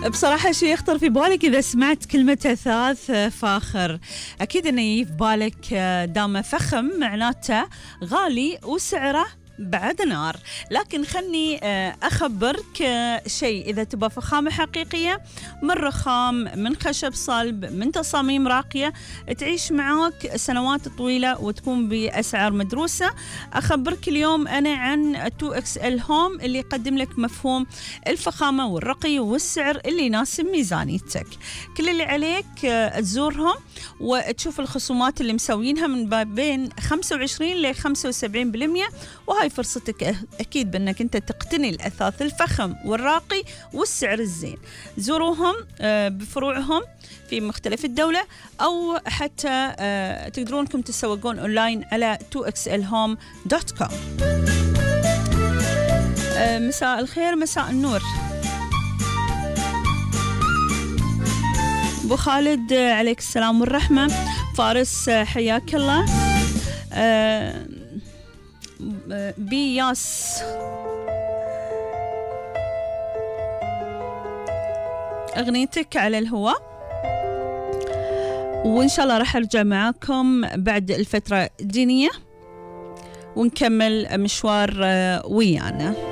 بصراحة شيء يخطر في بالك إذا سمعت كلمة أثاث فاخر؟ أكيد أنه يجي في بالك دام فخم معناته غالي وسعره بعد نار. لكن خلني أخبرك شيء، إذا تبى فخامة حقيقية من رخام، من خشب صلب، من تصاميم راقية تعيش معاك سنوات طويلة وتكون بأسعار مدروسة، أخبرك اليوم أنا عن 2XL Home اللي يقدم لك مفهوم الفخامة والرقي والسعر اللي يناسب ميزانيتك. كل اللي عليك تزورهم وتشوف الخصومات اللي مسوينها من بين 25 ل 75%، وهاي فرصتك أكيد بأنك أنت تقتني الأثاث الفخم والراقي والسعر الزين. زوروهم بفروعهم في مختلف الدولة، أو حتى تقدرون أنكم تسوقون أونلاين على 2xlhome.com. مساء الخير، مساء النور أبو خالد، عليك السلام والرحمة. فارس حياك الله. بياس أغنيتك على الهواء، وإن شاء الله راح أرجع معاكم بعد الفترة الدينية ونكمل مشوار ويانا.